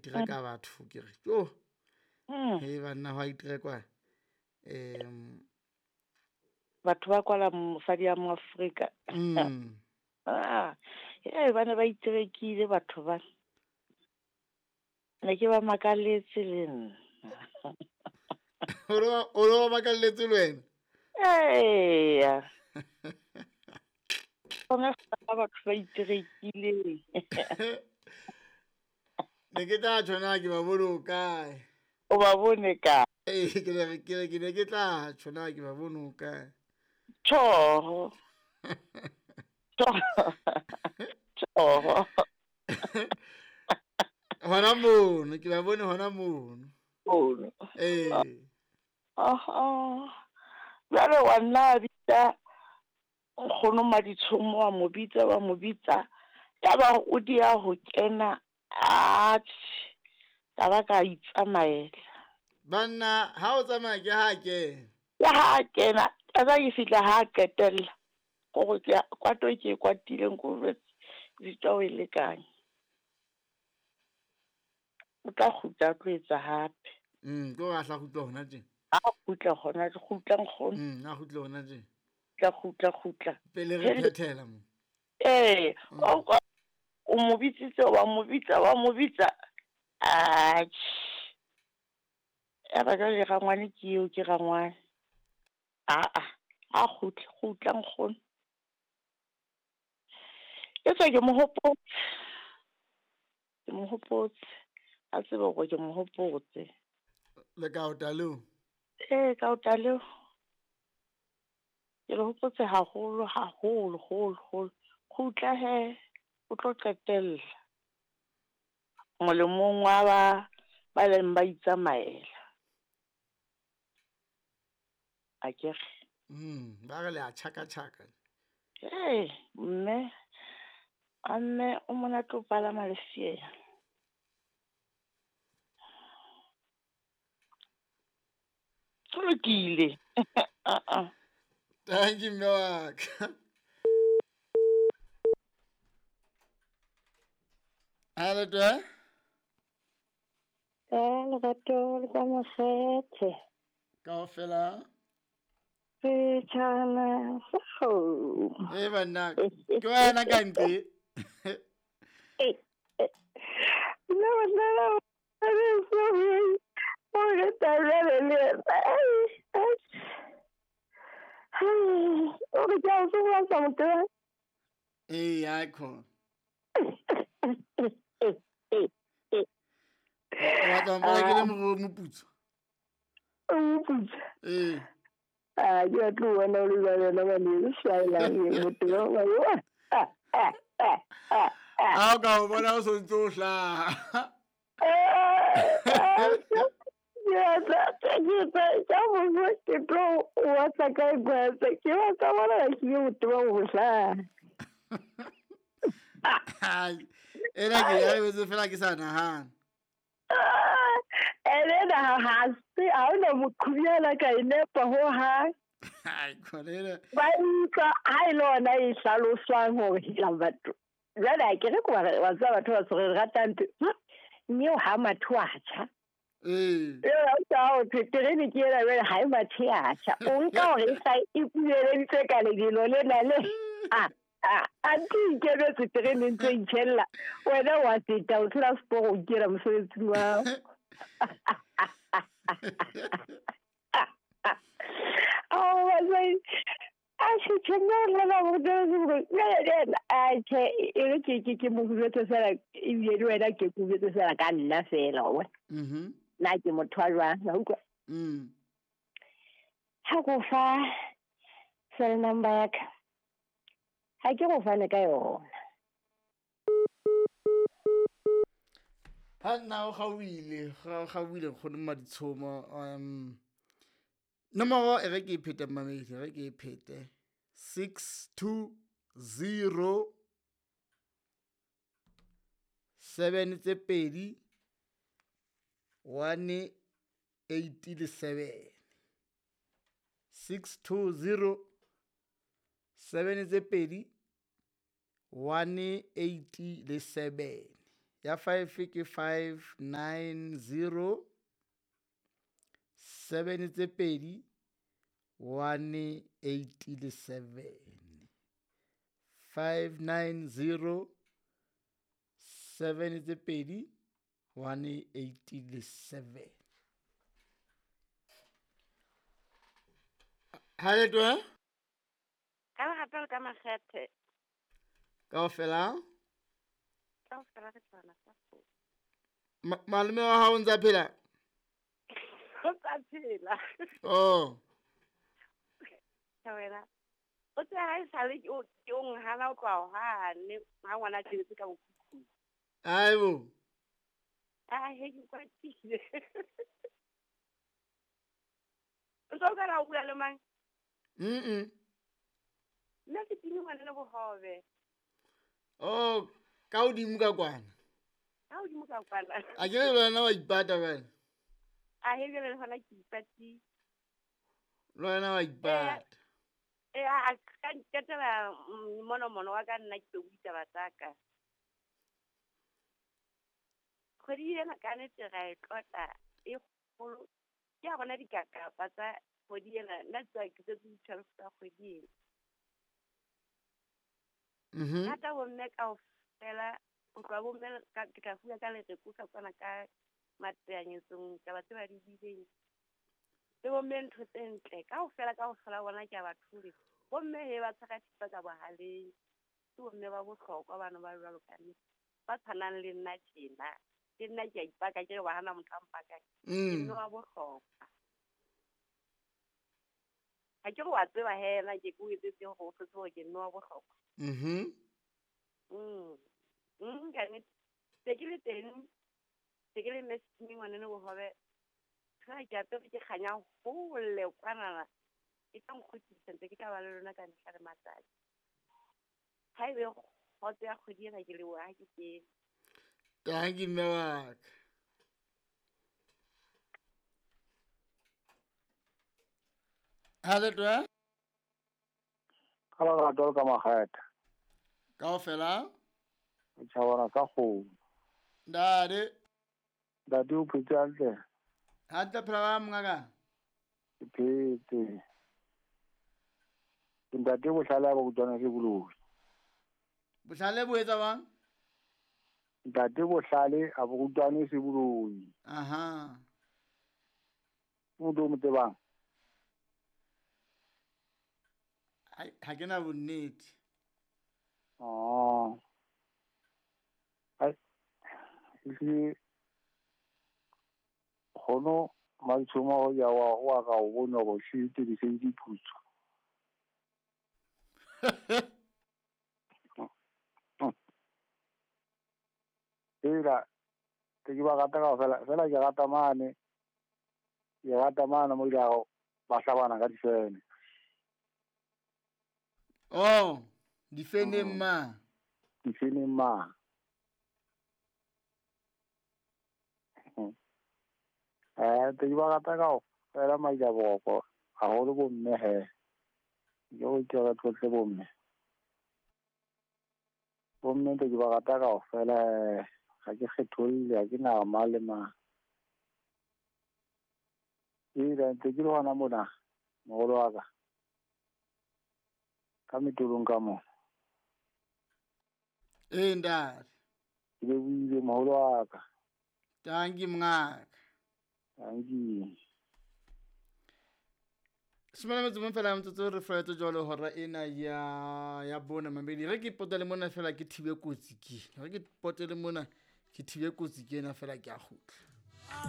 itereka batho ke re jo. He banna hwa iterekwa. Batho ba kwala mosadi ya mo Afrika. Ah, ba ne ba iterekile batho ba. Ne ke ba makaletse le nna. O lo ba makaletse le wena? Eya. Bona batho ba iterekile. Ne ke tla tjho na ke ba bone o kae. O ba bone kae? Ee, ke ne ke tla tjho na ke ba bone o kae. Tjho. Tjho. Hona mono, ke ba bone hona mono. Mono. Ee. Aha. Jwale wa nna bitsa nkgono Maditshomo, wa mo bitsa, wa mo bitsa. Ya ba o dia ho kena, atjhe, ka ba ka itsamaela. Banna, ha o tsamaya ke ha kena. Ke ha kena, ka ba ke fihla ha qetella. Gore ke kwato ke kwatileng ko jwetse o e lekanye. O tla kgutla tlo etsa hape. Ke hore a hla kgutla hona tje. A kgutla hona, kgutla nkgono. A kgutla hona tje. Kgutla kgutla. Pele re phethela mo. Ee, o mo bitsitse, wa mo bitsa, wa mo bitsa. Atjhe. Ya ba jwale rangwane ke eo, ke rangwane. Aa, a kgutla, kgutla nkgono. Ke tswa ke mo hopotse. Ke mo hopotse. A tsebe hore ke mo hopotse. Le ka ota leo? Ee, ka ota leo. Ke le hopotse haholo, haholo, holo, holo. Kgutla he, o tlo qetella. Molemong wa ba leng ba itsamaela. Akere. Ba re le a tjhaka tjhaka. Ee, mme a mme o monate o palama lefeela. Ho lokile. Thank you, mme wa ka. Hello, twe. Ka lerato le ka mokgethe. Kaofela. Setjhana sa kgomo. Eh banna, ke wena ka ntle. Nna banna, o re tabele le yena. O re ke a o tsoga sa motho. Ee, ya khona. O batla ho mpona ke le moputso? O moputso? Ee. Ah, ke batla ho bona o le jwalo yena ngwaneso, shaela motho wa wa. Ha o ka o bona o sontso o hlaha. Ke tlo watsa ka gwatsa ke batla bona ke motho wa ho hlaha. Ena ke ya betse fela ke sa nahana. Ene ha se ha ona moqhubiana ka e nepa ho hang. Ai khona. Ba utlwa ha e le ona e hlaloswang hore hela batho. Jwale ha ke re ko wa tseba batho ba tshwere ratang mme o ha matho a tjha. Ee. Eo o terene ke ena jwale ha e mathe a tjha. O nka hore e sa e kueleditswe ka lebelo lena le. A ntse ikemetse terene ntse itjhella. Wena wa feta o tshela seporo o ikela mosebetsing wa hao. Oh, ke mo jwetse fela ebile le wena ke ko jwetse fela ka nna fela wa bona. Nna ke motho wa jwang, wa utlwa? Ha ko fa cell number ya ka, ha ke go fane ka yona. Ha nna o gauile, gauile nkgono Maditshomo. Nomoro e re ke e phete mmamedi, re ke e phete. 620 7 tse pedi 1 8 le 7. 620 7 tse pedi 1 8 le 7. Ya 5 ke 590 7 tse pedi 1 8 le 7. 590 7 tse pedi 1 8 le 7. Ha le twe? Ka lerato le ka makgethe. Kaofela? Kaofela re tswana sa fo. Malome wa hao o ntsa phela? O ntsa phela. Oh. Wena. O tse ha e sale ke o nghala o tloha hane ha ngwana tshebetse ka bokhukhung. Aibo. Ah, he ke kwatile. O tlo ka ra o bua le mang? Nna ke tini ngwana le bohobe. Oh, ka hodimo ka kwana. Ka hodimo ka kwana. A ke le wena wa ipata bana. A he jwale le hona ke ipati. Le wena wa ipata. A ka nketela mono wa ka nna ke tlo ditaba tsa ka. Kgwedi ena ka nnete ra e tlotla e kgolo. Ke a bona dikakapa tsa kgwedi ena, nna tswa ke tsetse di-12 tsa kgwedi ena. Rata bomme kaofela, ho tloha bomme ke tla fuwa ka lereko ka kwana ka mateanyetsong taba tse ba di buileng. Le bomme ntho tse ntle kaofela bona ke a ba thole. Bomme he ba tshwara thipa ka bohaleng. Ke bomme ba bohlokwa bano ba jwalo ka nnete. Ba tshwanang le nna tjena. Ke nna ke a ipaka ke re wa hana motho a mpakang. Ke mme wa bohlokwa. Ha ke re wa tseba he na ke o etsetse hore o tsebe hore ke mme wa bohlokwa. Ka nnete. Se ke le teng, se ke le mme ngwaneno bohobe. Ha ke apere ke kganya hole kwanana. E tla nkgutlisa ntse ke tla ba le lona ka mehla le matsatsi. Ha ebe kgotso ya kgwedi ena ke leboha ha ke kene. Thank you, mme wa ka. Ha le twe? Ka lerato le ka makgethe. Kaofela? Tjhabana sa kgomo. Ntate. Ntate o phetse hantle? Hantle phela ba mongaka? Ke phetse. Ntate bohlale ba utlwana ke boloi. Bohlale bo etsa bang? Ntate bohlale a bo utlwane se boloi. Aha. Motho o mo tsebang? Ha ke na bonnete. Oh. Ai. Ehlile kgono Maditshomo ya wa ka o bona go shite di se di putso. Ela ke ba rata ka fela fela ke rata mane. Ke rata mane mo ile ba hlabana ka difene. Oh, difeneng ma. Difeneng ma. Te ba rata ka fela maidaboko haholo bomme he. Ke go ke re tlotle bomme. Bomme te ba rata ka fela ga ke kgetholle ha ke na ma le ma. Ira ntse ke le hona mona moholo wa ka. Ka metolong ka mo. Ee ntate. Ke lebohile moholo wa ka. Thank you mongaka. Thank you. Smela metso fela mtsotso re fela jwalo hora ena ya bona mamedi. Re ke potele mona fela ke thibe kotsi ke. Re ke potele mona ke thibe kotsi ke ena fela ke a kgutla.